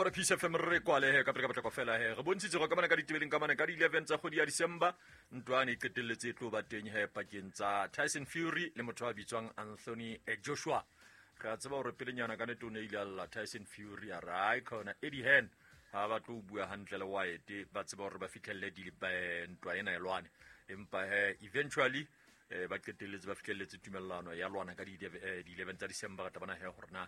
Ba Peace FM re kwale he ka pele ka potlako fela he. Re bontshitse go ka mane ka ditebeleng ka mane ka di-11 tsa kgwedi ya December. Ntwane e qetelletse e tlo ba teng he pakeng tsa Tyson Fury le motho a bitswang Anthony Joshua. Re a tseba hore pelenyana ka nete o ne ile a lla Tyson Fury a re ai khona Eddie Hearn ha ba tlo bua hantle le Wyatt, ba tseba hore ba fihlelle ntwa ena e lwane. Empa he eventually ba qetelletse ba fihlelletse tumellano ya lwana ka di-11 tsa December. Re tla bona he hore na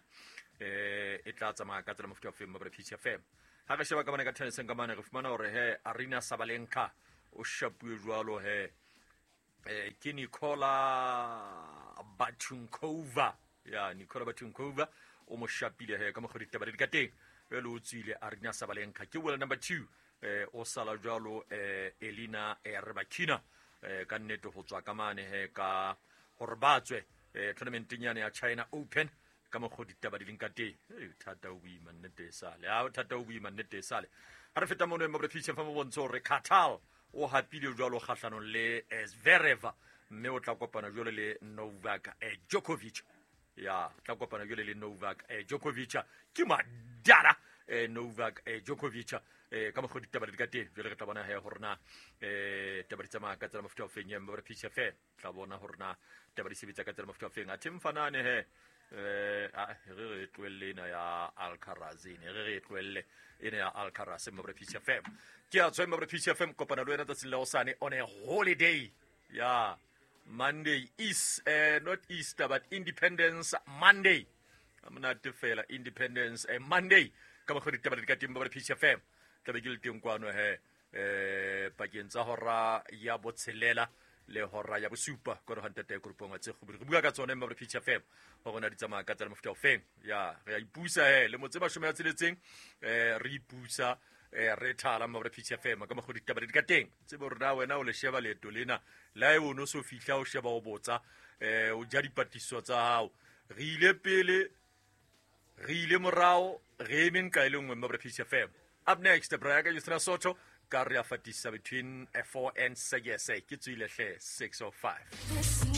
e tla tsamaya ka tsela mofuta o feng. Ba Peace FM, ha re sheba ka mane ka tenniseng ka mane, re fumana hore he Arina Sabalenka o shapuwe jwalo he ke Nicola Batunkova. Ya Nicola Batunkova o mo shapile he ka mokgwa ditaba di ka teng. Jwale o tswile Arina Sabalenka, ke world number 2, o sala jwalo Elina Rybakina ka nnete ho tswa ka mane he ka hore ba tswe tournamenteng yane ya China Open ka mokgwa ditaba di leng ka teng. Thata o boima nnete e sale, a thata o boima nnete e sale. Ha re feta mono mo Peace FM, bontsho hore Qatar o hapile jwalo kgahlanong le Zverev, mme o tla kopana jwalo le Novak Djokovic. Ya tla kopana jwale le Novak Djokovic, ke madala Novak Djokovic ka mokgwa ditaba di ka teng. Jwale re tla bona he hore na taba di tsamaya ka tsela mofuta o feng. Ba re Peace FM tla bona hore na taba di sebetsa ka tsela mofuta o feng. Athe mfanane he re re tlohelle ena ya Alcaraz, ene re re tlohelle ena ya Alcaraz. Mo re Peace FM ke a tswa mo re Peace FM, kopana le wena tsatsing la hosane on a holiday ya Monday is not Easter but Independence Monday. Monate fela Independence Monday ka mokgwa ditaba di ka teng. Ba re Peace FM tlabe ke le teng kwano he pakeng tsa hora ya botshelela le hora ya bosupa kore ga ntate koropong wa tse re bua ka tsone. Mma re Peace FM gore na di tsamaya ka tsela mofuta o feng. Ya re a ipusa he le motse 60 re ipusa re thala. Mma re Peace FM ka mokgwa ditaba di ka teng, tsebe hore na wena o le sheba leeto lena la e o no so fihla o sheba o botsa o ja dipatlisiso tsa hao. Re ile pele, re ile morao, re eme nka e le nngwe. Mma re Peace FM. Up next, Brian Yusra Soto ka re a fatisa between 4 and 6. Ke tswile hle 6:05.